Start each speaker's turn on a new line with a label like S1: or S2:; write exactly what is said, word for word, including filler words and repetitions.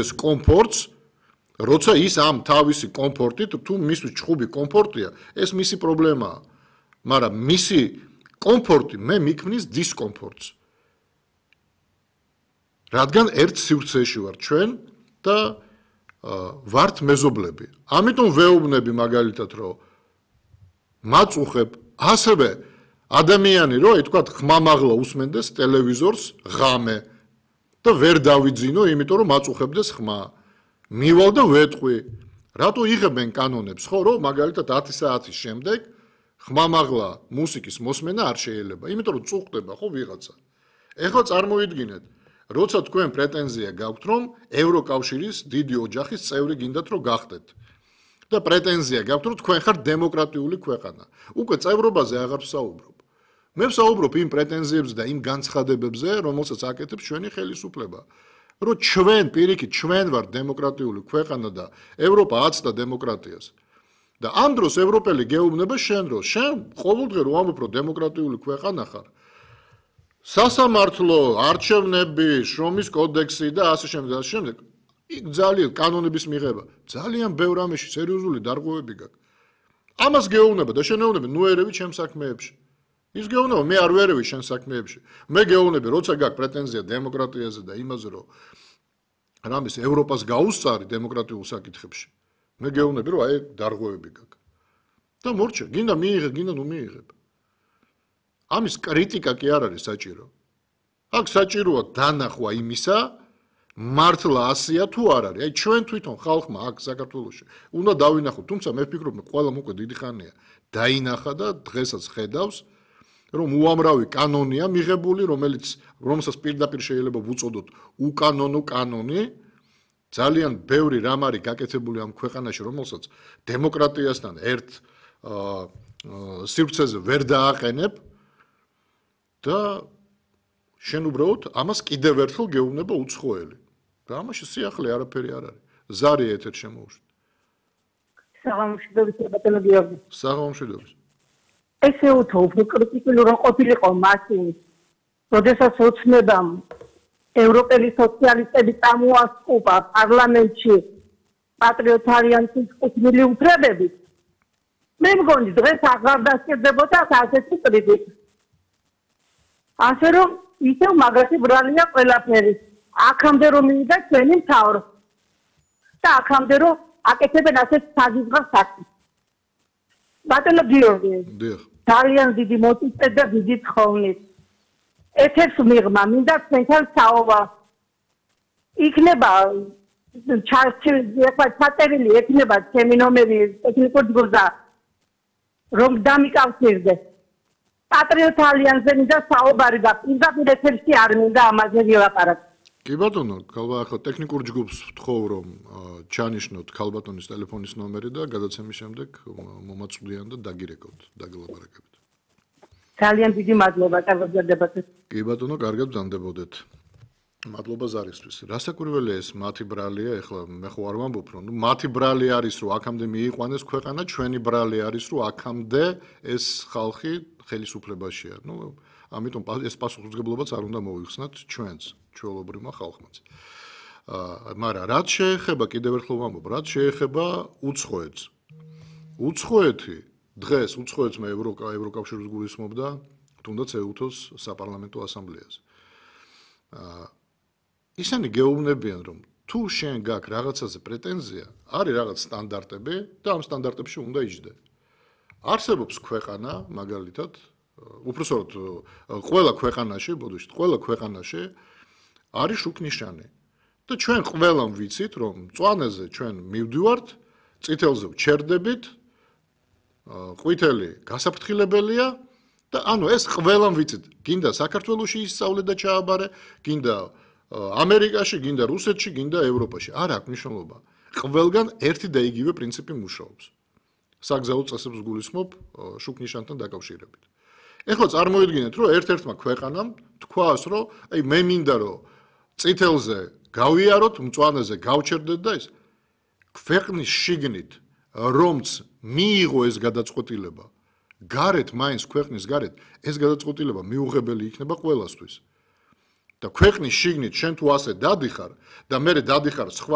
S1: ეს კომფორტს, როცა ის ამ თავისი კომფორტით, თუ მისთვის ჩხუბი კომფორტია, ეს მისი პრობლემაა. მაგრამ მისი კომფორტი მე მიქმნის დისკომფორტს. რადგან ერთ სივრცეში ვარ ჩვენ და ვართ მეზობლები. ამიტომ ვეუბნები მაგალითად, რომ მაწუხებ ასევე ადამიანი, რომ ეთქვა ხმამაღლა უსმენდეს ტელევიზორს ღამე და ვერ დავიძინო, იმიტომ რომ მაწუხებდეს ხმა. მივალ და ვეტყვი. რატო იღებენ კანონებს, ხო, რომ მაგალითად ათი საათის შემდეგ ხმამაღლა მუსიკის მოსმენა არ შეიძლება, იმიტომ რომ წუხდება ხო ვიღაცა. ეხლა წარმოიდგინეთ, როცა თქვენ პრეტენზია გაქვთ, რომ ევროკავშირის დიდი ოჯახის წევრი გინდათ რომ გახდეთ. და პრეტენზია გაქვთ, რომ თქვენ ხართ დემოკრატიული ქვეყანა. უკვე წევრობაზე აღარ ვსაუბრობ. მე ვსაუბრობ იმ პრეტენზიებზე და იმ განცხადებებზე, რომელსაც აკეთებს ჩვენი ხელისუფლება. რომ ჩვენ პირიქით ჩვენ ვართ დემოკრატიული ქვეყანა და ევროპა აცდა დემოკრატიას. და ამ დროს ევროპელი გეუბნება შენ რომ შენ ყოველდღე რომ ამბობ რომ დემოკრატიული ქვეყანა ხარ. სასამართლო, არჩევნები, შრომის კოდექსი და ასე შემდეგ და ასე შემდეგ. იქ ძალიან კანონების მიღება. ძალიან ბევრ ამაში სერიოზული დარღვევები გაქვს. ამას გეუბნება და შენ ეუბნები ნუ ერევი ჩემ საქმეებში. ის გეუბნება მე არ ვერევი შენ საქმეებში. მე გეუბნები როცა გაქვს პრეტენზია დემოკრატიაზე და იმაზე რომ რამის ევროპას გაუსწარი დემოკრატიულ საკითხებში. მე გეუბნები რომ აი დარღვევები გაქვს. და მორჩა, გინდა მიიღე, გინდა ნუ მიიღებ. ამის კრიტიკა კი არ არის საჭირო. აქ საჭიროა დანახვა იმისა, მართლა ასია თუ არ არის. აი ჩვენ თვითონ ხალხმა აქ საქართველოში უნდა დავინახოთ, თუმცა მე ვფიქრობ, ყველამ უკვე დიდი ხანია დაინახა და დღესაც ხედავს, რომ უამრავი კანონია მიღებული, რომელიც რომელსაც პირდაპირ შეიძლება ვუწოდოთ უკანონო კანონი. ძალიან ბევრი რამ არის გაკეთებული ამ ქვეყანაში, რომელსაც დემოკრატიასთან ერთ სივრცეზე ვერ დააყენებ და შენ უბრალოდ ამას კიდევ ერთხელ გეუბნება უცხოელი. და ამაში სიახლე არაფერი არ არის. ზარი ეთერ შემოუშვით.
S2: საღამოშვიდობის ბატონო გიორგი.
S1: საღამოშვიდობის.
S2: ესე უთო უფრო კრიტიკული რომ ყოფილიყო მაშინ, როდესაც ოცნებამ ევროპელი სოციალისტები წამოასწუპა პარლამენტში პატრიოტარიანის კუთვნილი უფლებები. მე მგონი დღეს აღარ დასჭირდებოდა ასეთი კრიტიკა. ასე რომ ისევ მაგათი ბრალია ყველაფერი. აქამდე რომ მივიდა ჩვენი მთავრო. და აქამდე რომ აკეთებენ ასეთ საზღვრავს საქმეს. ბატონო გიორგი.
S1: დიახ.
S2: ძალიან დიდი მოტივით და დიდი თხოვნით. ეთერს მიღმა, მინდა თქვენთან საუბარ. იქნება ჩაწერილი ექნება ჩემი ნომერი ტექნიკურ ჯგუფზე, რომ დამიკავშირდე. პატრიოტ ალიანსზე მინდა საუბარი და პირდაპირ ეთერში არ მინდა ამაზე ვილაპარაკო.
S1: კი ბატონო, ქალბატონო, ახლა ტექნიკურ ჯგუფს ვთხოვ, რომ ჩანიშნოთ ქალბატონის ტელეფონის ნომერი და გადაცემის შემდეგ მომაწვდიან და დაგირეკოთ, დაგილაპარაკებთ.
S2: ძალიან დიდი მადლობა, კარგად გრძდებათ.
S1: კი ბატონო, კარგად ბრძანდებოდეთ. მადლობა ზარისთვის. რასაკვირველია ეს მათი ბრალია, ეხლა მე ხო არ ვამბობ, რომ ნუ მათი ბრალი არის, რომ აქამდე მიიყვანეს ქვეყანა, ჩვენი ბრალი არის, რომ აქამდე ეს ხალხი ხელისუფლებაშია. ნუ ამიტომ ეს პასუხისმგებლობაც არ უნდა მოიხსნათ ჩვენს, ჩვეულებრივმა ხალხმაც. აა, მაგრამ რაც შეეხება, კიდევ ერთხელ ვამბობ, რაც შეეხება უცხოეთს. უცხოეთი დღეს უცხოეთს მე ევროკავშირს გულისხმობდა, თუნდაც ეუთოს საპარლამენტო ასამბლეაზე. აა ისინი გეუბნებიან, რომ თუ შენ გაქვს რაღაცაზე პრეტენზია, არის რაღაც სტანდარტები და ამ სტანდარტებში უნდა იჯდე. არსებობს ქვეყანა, მაგალითად, უпростоროდ ყველა ქვეყანაში, ბოდიშით, ყველა ქვეყანაში არის შუქნიშანი. და ჩვენ ყველამ ვიცით, რომ მწვანეზე ჩვენ მივდივართ, წითელზე ვჩერდებით, ყვითელი გასაფრთხილებელია და ანუ ეს ყველამ ვიცით. გინდა საქართველოში ისწავლე და ჩააბარე, გინდა ამერიკაში, გინდა რუსეთში, გინდა ევროპაში. არ აქვს მნიშვნელობა. ყველგან ერთი და იგივე პრინციპი მუშაობს. საგზაო წესებს გულისხმობ შუქნიშანთან დაკავშირებით. ეხლა წარმოიდგინეთ, რომ ერთ-ერთმა ქვეყანამ თქვას, რომ აი მე მინდა რომ წითელზე გავიაროთ, მწვანეზე გავჩერდეთ და ის ქვეყნის შიგნით რომც მიიღო ეს გადაწყვეტილება, გარეთ მაინც ქვეყნის გარეთ ეს გადაწყვეტილება მიუღებელი იქნება ყველასთვის. და ქვეყნის შიგნით შენ თუ ასე დადიხარ და მე დადიხარ სხვა